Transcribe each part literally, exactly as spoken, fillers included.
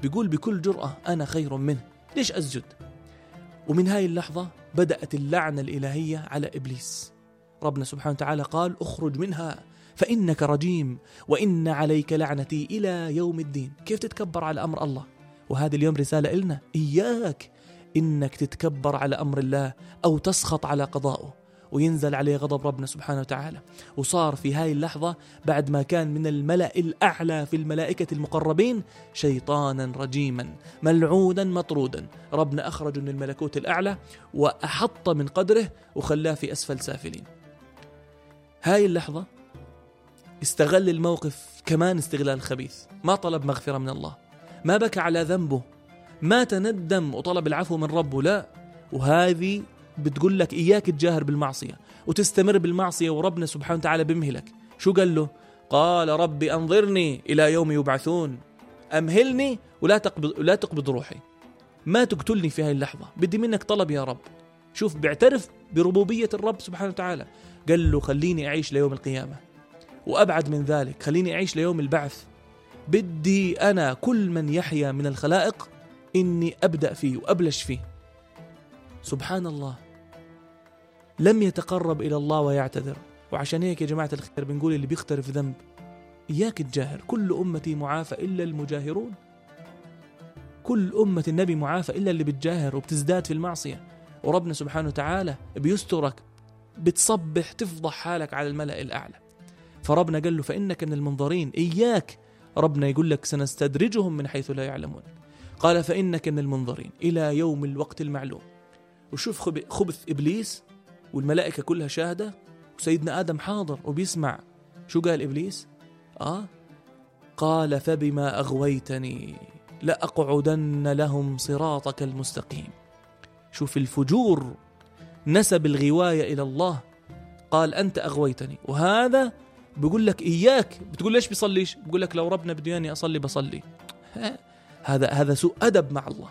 بيقول بكل جرأة أنا خير منه، ليش أسجد؟ ومن هاي اللحظة بدأت اللعنة الإلهية على إبليس. ربنا سبحانه وتعالى قال اخرج منها فإنك رجيم وإن عليك لعنتي إلى يوم الدين. كيف تتكبر على أمر الله؟ وهذا اليوم رسالة إلنا، إياك إنك تتكبر على أمر الله أو تسخط على قضائه وينزل عليه غضب ربنا سبحانه وتعالى. وصار في هاي اللحظة بعد ما كان من الملأ الأعلى في الملائكة المقربين شيطانا رجيما ملعونا مطرودا، ربنا أخرجه من الملكوت الأعلى وأحط من قدره وخلاه في أسفل سافلين. هاي اللحظة استغل الموقف كمان استغلال خبيث، ما طلب مغفرة من الله، ما بكى على ذنبه، ما تندم وطلب العفو من ربه، لا. وهذه بتقول لك إياك تجاهر بالمعصية وتستمر بالمعصية وربنا سبحانه وتعالى بمهلك. شو قال له؟ قال ربي أنظرني إلى يوم يبعثون، أمهلني ولا تقبض, ولا تقبض روحي، ما تقتلني في هاي اللحظة، بدي منك طلب يا رب. شوف بيعترف بربوبية الرب سبحانه وتعالى. قال له خليني أعيش ليوم القيامة، وأبعد من ذلك خليني أعيش ليوم البعث. بدي أنا كل من يحيا من الخلائق إني أبدأ فيه وأبلش فيه. سبحان الله، لم يتقرب إلى الله ويعتذر. وعشان هيك يا جماعة الخير بنقول اللي بيخترف ذنب إياك تجاهر. كل أمتي معافى إلا المجاهرون. كل أمة النبي معافى إلا اللي بتجاهر وبتزداد في المعصية، وربنا سبحانه وتعالى بيسترك، بتصبح تفضح حالك على الملأ الأعلى. فربنا قال له فإنك من المنظرين. إياك، ربنا يقول لك سنستدرجهم من حيث لا يعلمون. قال فإنك من المنظرين إلى يوم الوقت المعلوم. وشوف خبث إبليس والملائكة كلها شاهدة وسيدنا آدم حاضر وبيسمع. شو قال إبليس؟ آه قال فبما أغويتني لأقعدن لهم صراطك المستقيم. شوف الفجور، نسب الغواية إلى الله. قال أنت أغويتني، وهذا بيقول لك إياك. بتقول ليش بيصليش؟ بيقول لك لو ربنا بده يعني أصلي بصلي. هذا هذا سوء أدب مع الله.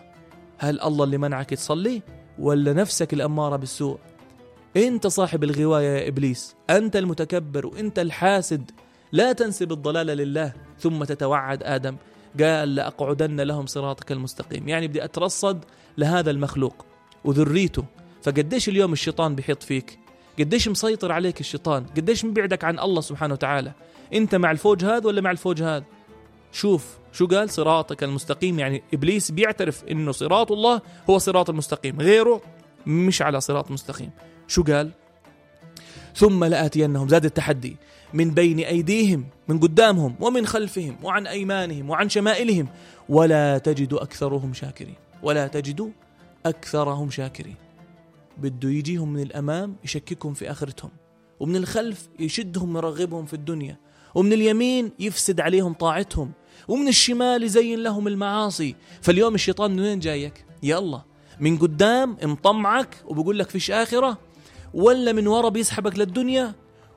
هل الله اللي منعك تصلي ولا نفسك الأمارة بالسوء؟ أنت صاحب الغواية يا إبليس، أنت المتكبر وأنت الحاسد. لا تنسب الضلال لله ثم تتوعد آدم. قال لأقعدن لهم صراطك المستقيم، يعني بدي أترصد لهذا المخلوق وذريته. فقديش اليوم الشيطان بيحيط فيك، قديش مسيطر عليك الشيطان، قديش مبعدك عن الله سبحانه وتعالى. أنت مع الفوج هذا ولا مع الفوج هذا؟ شوف شو قال صراطك المستقيم، يعني إبليس بيعترف إنه صراط الله هو صراط المستقيم، غيره مش على صراط مستقيم. شو قال؟ ثم لآتينهم، زاد التحدي، من بين أيديهم، من قدامهم ومن خلفهم وعن أيمانهم وعن شمائلهم ولا تجد أكثرهم شاكرين. ولا تجد أكثرهم شاكرين. بده يجيهم من الأمام يشككهم في آخرتهم، ومن الخلف يشدهم يرغبهم في الدنيا، ومن اليمين يفسد عليهم طاعتهم، ومن الشمال يزين لهم المعاصي. فاليوم الشيطان من وين جايك؟ يلا من قدام مطمعك وبقول لك فيش آخرة، ولا من ورا بيسحبك للدنيا،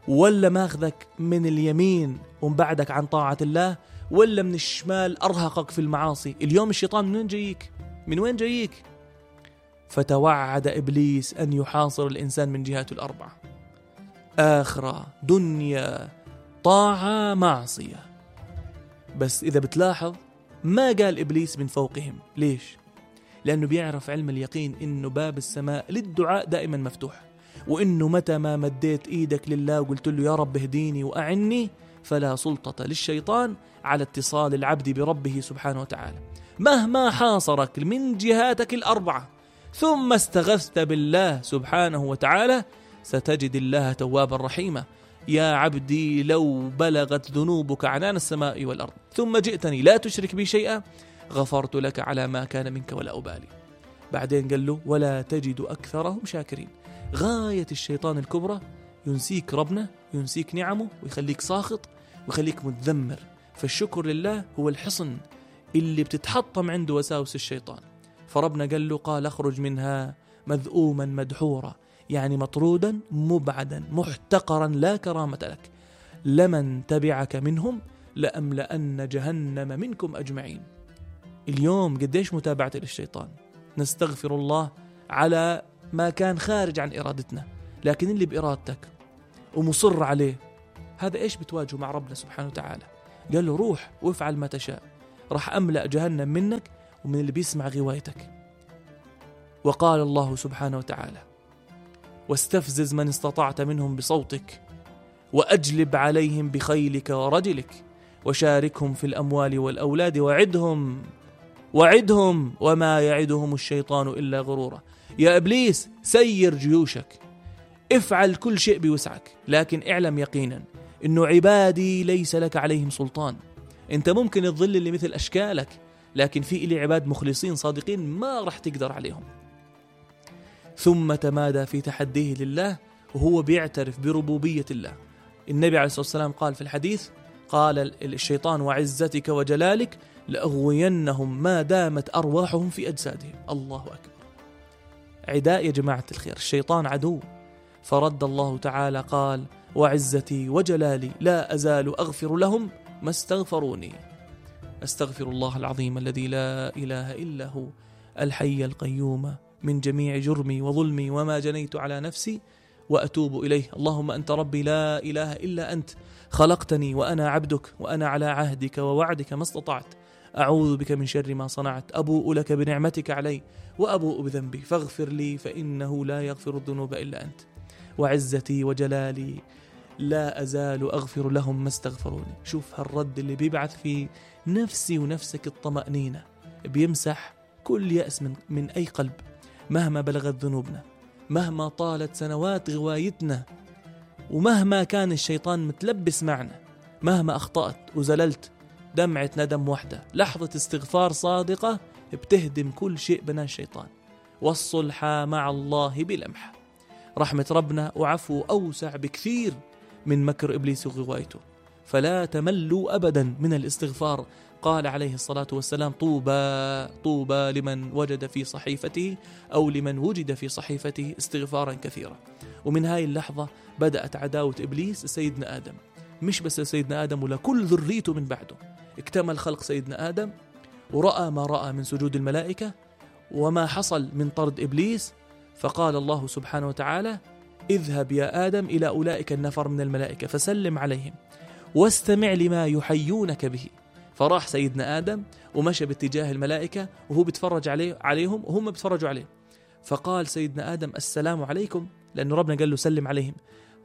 ولا ماخذك من اليمين ومبعدك عن طاعة الله، ولا من الشمال أرهقك في المعاصي. اليوم الشيطان من وين جايك؟ من وين جايك؟ فتوعد إبليس أن يحاصر الإنسان من جهاته الأربعة: آخرة، دنيا، طاعة، معصية. بس إذا بتلاحظ ما قال إبليس من فوقهم. ليش؟ لأنه بيعرف علم اليقين إنه باب السماء للدعاء دائما مفتوح، وإنه متى ما مديت إيدك لله وقلت له يا رب اهديني وأعني، فلا سلطة للشيطان على اتصال العبد بربه سبحانه وتعالى. مهما حاصرك من جهاتك الأربعة ثم استغثت بالله سبحانه وتعالى ستجد الله توابا رحيما. يا عبدي لو بلغت ذنوبك عنان السماء والأرض ثم جئتني لا تشرك بي شيئا غفرت لك على ما كان منك ولا أبالي. بعدين قال له ولا تجد أكثرهم شاكرين. غاية الشيطان الكبرى ينسيك ربنا، ينسيك نعمه، ويخليك ساخط ويخليك متذمر. فالشكر لله هو الحصن اللي بتتحطم عنده وساوس الشيطان. فربنا قال له قال اخرج منها مذءوما مدحورا، يعني مطرودا مبعدا محتقرا لا كرامة لك. لمن تبعك منهم لأملأن جهنم منكم أجمعين. اليوم قديش متابعة للشيطان، نستغفر الله على ما كان خارج عن إرادتنا، لكن اللي بإرادتك ومصر عليه هذا إيش بتواجهه مع ربنا سبحانه وتعالى؟ قال له روح وافعل ما تشاء. راح أملأ جهنم منك ومن اللي بيسمع غوايتك. وقال الله سبحانه وتعالى: واستفزز من استطعت منهم بصوتك وأجلب عليهم بخيلك ورجلك وشاركهم في الأموال والأولاد وعدهم وعدهم وما يعدهم الشيطان إلا غرورا. يا إبليس سير جيوشك، افعل كل شيء بوسعك، لكن اعلم يقينا إنه عبادي ليس لك عليهم سلطان. انت ممكن تظل اللي مثل أشكالك، لكن في إلي عباد مخلصين صادقين ما رح تقدر عليهم. ثم تمادى في تحديه لله وهو بيعترف بربوبية الله. النبي عليه الصلاة والسلام قال في الحديث، قال الشيطان: وعزتك وجلالك لأغوينهم ما دامت أرواحهم في أجسادهم. الله أكبر. عداء يا جماعة الخير، الشيطان عدو. فرد الله تعالى قال: وعزتي وجلالي لا أزال أغفر لهم ما استغفروني. أستغفر الله العظيم الذي لا إله إلا هو الحي القيوم من جميع جرمي وظلمي وما جنيت على نفسي وأتوب إليه. اللهم أنت ربي لا إله إلا أنت، خلقتني وأنا عبدك وأنا على عهدك ووعدك ما استطعت، أعوذ بك من شر ما صنعت، أبوء لك بنعمتك علي وأبوء بذنبي فاغفر لي فإنه لا يغفر الذنوب إلا أنت. وعزتي وجلالي لا أزال أغفر لهم ما استغفروني. شوف هالرد اللي بيبعث في نفسي ونفسك الطمأنينة، بيمسح كل يأس من, من أي قلب مهما بلغت ذنوبنا، مهما طالت سنوات غوايتنا، ومهما كان الشيطان متلبس معنا، مهما أخطأت وزللت، دمعة ندم واحدة، لحظة استغفار صادقة بتهدم كل شيء بناه الشيطان. والصلح مع الله بلمح. رحمة ربنا وعفو أوسع بكثير من مكر إبليس وغوايته، فلا تملوا أبدا من الاستغفار. قال عليه الصلاة والسلام: طوبى طوبى لمن وجد في صحيفته أو لمن وجد في صحيفته استغفارا كثيرا. ومن هاي اللحظة بدأت عداوة إبليس سيدنا آدم، مش بس سيدنا آدم ولا كل ذريته من بعده. اكتمل خلق سيدنا آدم ورأى ما رأى من سجود الملائكة وما حصل من طرد إبليس. فقال الله سبحانه وتعالى: اذهب يا آدم إلى أولئك النفر من الملائكة فسلم عليهم واستمع لما يحيونك به. فراح سيدنا آدم ومشى باتجاه الملائكة وهو بيتفرج عليه عليهم وهم بيتفرجوا عليه. فقال سيدنا آدم: السلام عليكم، لأنه ربنا قال له سلم عليهم.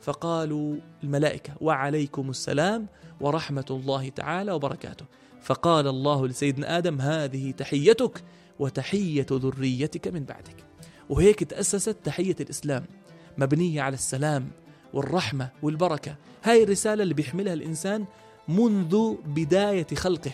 فقالوا الملائكة: وعليكم السلام ورحمة الله تعالى وبركاته. فقال الله لسيدنا آدم: هذه تحيتك وتحية ذريتك من بعدك. وهيك تأسست تحية الإسلام، مبنية على السلام والرحمة والبركة. هاي الرسالة اللي بيحملها الإنسان منذ بداية خلقه،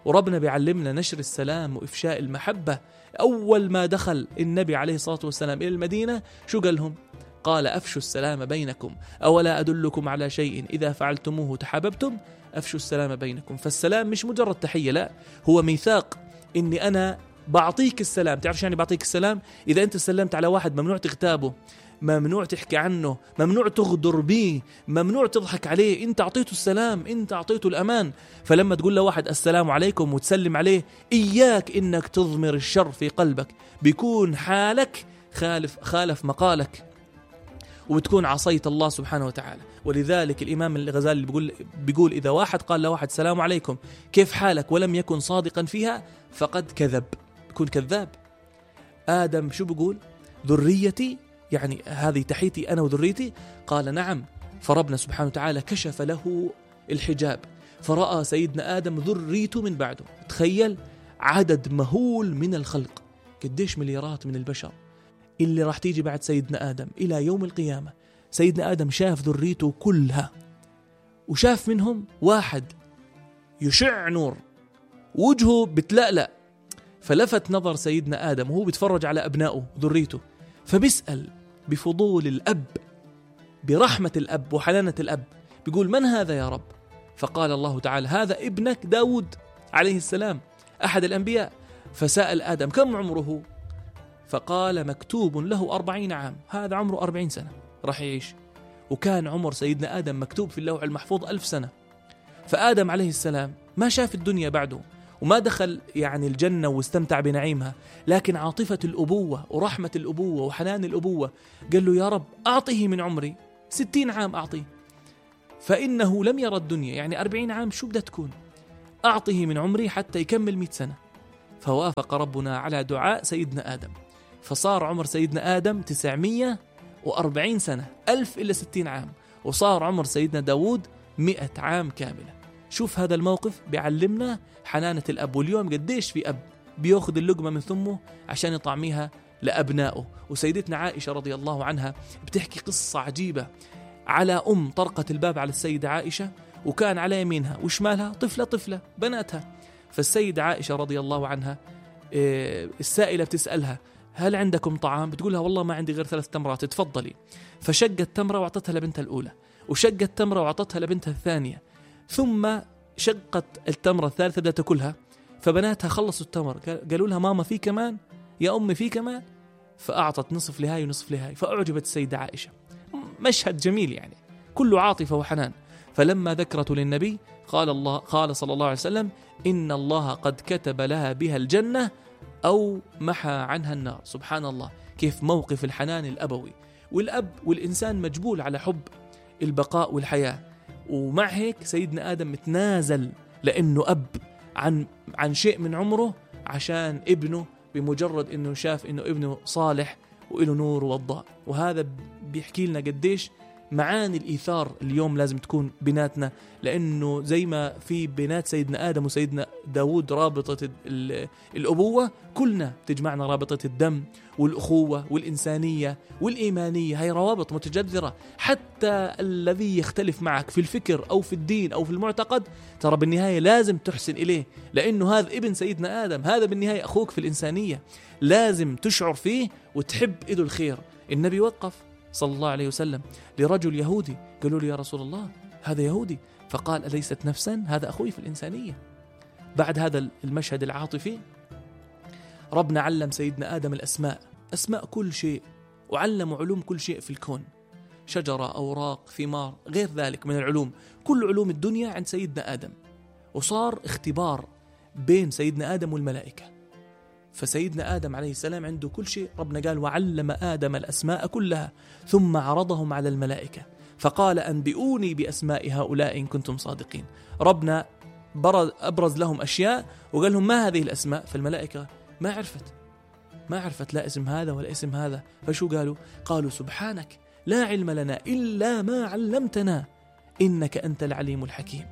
وربنا بيعلمنا نشر السلام وإفشاء المحبة. أول ما دخل النبي عليه الصلاة والسلام إلى المدينة شو قال لهم؟ قال: أفشوا السلام بينكم، أولا أدلكم على شيء إذا فعلتموه تحاببتم، أفشوا السلام بينكم. فالسلام مش مجرد تحية، لا، هو ميثاق إني أنا بعطيك السلام. تعرف يعني بعطيك السلام؟ إذا أنت سلمت على واحد ممنوع تغتابه، ممنوع تحكي عنه، ممنوع تغدر به، ممنوع تضحك عليه. انت اعطيته السلام، انت اعطيته الامان. فلما تقول لواحد السلام عليكم وتسلم عليه، اياك انك تضمر الشر في قلبك، بيكون حالك خالف خالف مقالك وبتكون عصيت الله سبحانه وتعالى. ولذلك الإمام الغزالي بيقول بيقول إذا واحد قال لواحد السلام عليكم كيف حالك ولم يكن صادقا فيها فقد كذب، بيكون كذاب. آدم شو بيقول؟ ذريتي، يعني هذه تحيتي أنا وذريتي. قال نعم. فربنا سبحانه وتعالى كشف له الحجاب فرأى سيدنا آدم ذريته من بعده. تخيل عدد مهول من الخلق، قديش مليارات من البشر اللي راح تيجي بعد سيدنا آدم إلى يوم القيامة. سيدنا آدم شاف ذريته كلها، وشاف منهم واحد يشع نور وجهه بتلألأ. فلفت نظر سيدنا آدم وهو بيتفرج على أبنائه ذريته، فبيسأل بفضول الأب، برحمة الأب وحنانة الأب، بيقول: من هذا يا رب؟ فقال الله تعالى: هذا ابنك داود عليه السلام أحد الأنبياء. فسأل آدم: كم عمره؟ فقال: مكتوب له أربعين عام، هذا عمره أربعين سنة راح يعيش. وكان عمر سيدنا آدم مكتوب في اللوح المحفوظ ألف سنة. فآدم عليه السلام ما شاف الدنيا بعده وما دخل يعني الجنة واستمتع بنعيمها، لكن عاطفة الأبوة ورحمة الأبوة وحنان الأبوة قال له: يا رب أعطيه من عمري ستين عام أعطيه، فإنه لم يرى الدنيا، يعني أربعين عام شو بدها تكون؟ أعطه من عمري حتى يكمل مئة سنة. فوافق ربنا على دعاء سيدنا آدم، فصار عمر سيدنا آدم تسعمية وأربعين سنة، ألف إلى ستين عام، وصار عمر سيدنا داود مئة عام كاملة. شوف هذا الموقف بيعلمنا حنانة الأب. واليوم قديش في أب بيأخذ اللقمة من ثمه عشان يطعميها لأبنائه. وسيدتنا عائشة رضي الله عنها بتحكي قصة عجيبة على أم طرقت الباب على السيدة عائشة، وكان على يمينها وشمالها طفلة طفلة بناتها. فالسيدة عائشة رضي الله عنها السائلة بتسألها هل عندكم طعام؟ بتقولها والله ما عندي غير ثلاث تمرات، تفضلي. فشقت تمرة وعطتها لبنتها الأولى، وشقت تمرة وعطتها لبنتها الثانية، ثم شقت التمرة الثالثة بدها تاكلها. فبناتها خلصوا التمر، قالوا لها ماما في كمان؟ يا أمي في كمان؟ فأعطت نصف لهاي ونصف لهاي. فأعجبت السيدة عائشة. مشهد جميل يعني كله عاطفة وحنان. فلما ذكرته للنبي قال الله قال صلى الله عليه وسلم إن الله قد كتب لها بها الجنة أو محى عنها النار. سبحان الله، كيف موقف الحنان الأبوي. والأب والإنسان مجبول على حب البقاء والحياة، ومع هيك سيدنا آدم متنازل لأنه أب عن عن شيء من عمره عشان ابنه، بمجرد أنه شاف أنه ابنه صالح وإله نور وضاء. وهذا بيحكي لنا قديش معاني الإيثار اليوم لازم تكون بيناتنا، لأنه زي ما في بينات سيدنا آدم وسيدنا داود رابطة الأبوة، كلنا تجمعنا رابطة الدم والأخوة والإنسانية والإيمانية. هاي روابط متجذرة. حتى الذي يختلف معك في الفكر أو في الدين أو في المعتقد، ترى بالنهاية لازم تحسن إليه، لأنه هذا ابن سيدنا آدم، هذا بالنهاية أخوك في الإنسانية، لازم تشعر فيه وتحب إيده الخير. النبي وقف صلى الله عليه وسلم لرجل يهودي، قالوا له يا رسول الله هذا يهودي، فقال أليست نفسا؟ هذا أخوي في الإنسانية. بعد هذا المشهد العاطفي ربنا علم سيدنا آدم الأسماء، أسماء كل شيء، وعلم علوم كل شيء في الكون، شجرة، أوراق، ثمار، غير ذلك من العلوم، كل علوم الدنيا عند سيدنا آدم. وصار اختبار بين سيدنا آدم والملائكة. فسيدنا آدم عليه السلام عنده كل شيء. ربنا قال وعلم آدم الأسماء كلها ثم عرضهم على الملائكة فقال أنبئوني بأسماء هؤلاء إن كنتم صادقين. ربنا أبرز لهم أشياء وقال لهم ما هذه الأسماء؟ فالملائكة ما عرفت ما عرفت لا اسم هذا ولا اسم هذا. فشو قالوا؟ قالوا سبحانك لا علم لنا إلا ما علمتنا إنك أنت العليم الحكيم.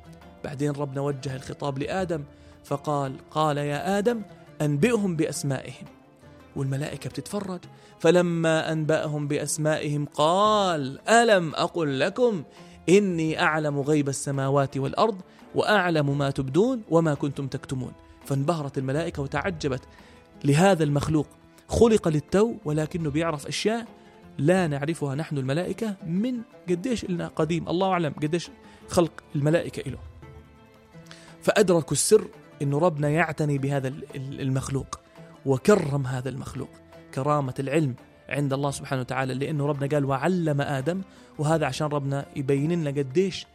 بعدين ربنا وجه الخطاب لآدم فقال قال يا آدم أنبئهم بأسمائهم. والملائكة بتتفرج. فلما أنبأهم بأسمائهم قال ألم أقل لكم إني أعلم غيب السماوات والأرض وأعلم ما تبدون وما كنتم تكتمون. فانبهرت الملائكة وتعجبت لهذا المخلوق خلق للتو ولكنه بيعرف أشياء لا نعرفها نحن الملائكة من قديش لنا قديم. الله أعلم قديش خلق الملائكة إله. فأدركوا السر إنه ربنا يعتني بهذا المخلوق وكرم هذا المخلوق كرامة العلم عند الله سبحانه وتعالى، لأنه ربنا قال وعلم آدم. وهذا عشان ربنا يبين لنا قديش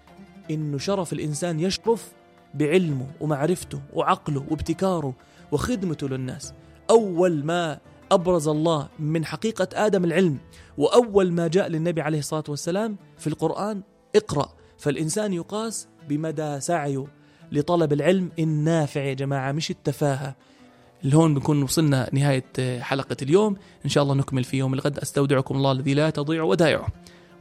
إنه شرف الإنسان يشرف بعلمه ومعرفته وعقله وابتكاره وخدمته للناس. أول ما أبرز الله من حقيقة آدم العلم، وأول ما جاء للنبي عليه الصلاة والسلام في القرآن اقرأ. فالإنسان يقاس بمدى سعيه لطلب العلم النافع يا جماعة، مش التفاهة. الهون بنكون وصلنا نهاية حلقة اليوم، إن شاء الله نكمل في يوم الغد. أستودعكم الله الذي لا تضيع ودائعه،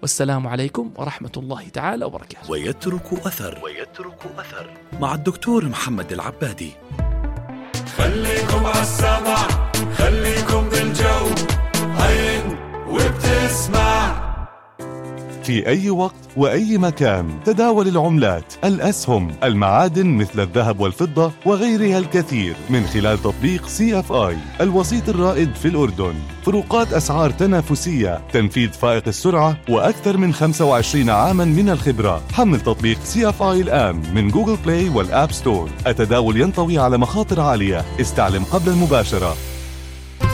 والسلام عليكم ورحمة الله تعالى وبركاته. ويترك أثر ويترك أثر مع الدكتور محمد العبادي. خليكم عالسمع، خليكم بالجو، هين وبتسمع. في أي وقت وأي مكان تداول العملات، الأسهم، المعادن مثل الذهب والفضة وغيرها الكثير من خلال تطبيق سي اف آي الوسيط الرائد في الأردن. فروقات أسعار تنافسية، تنفيذ فائق السرعة، وأكثر من خمسة وعشرين عاما من الخبرة. حمل تطبيق سي اف آي الآن من جوجل بلاي والآب ستور. التداول ينطوي على مخاطر عالية، استعلم قبل المباشرة.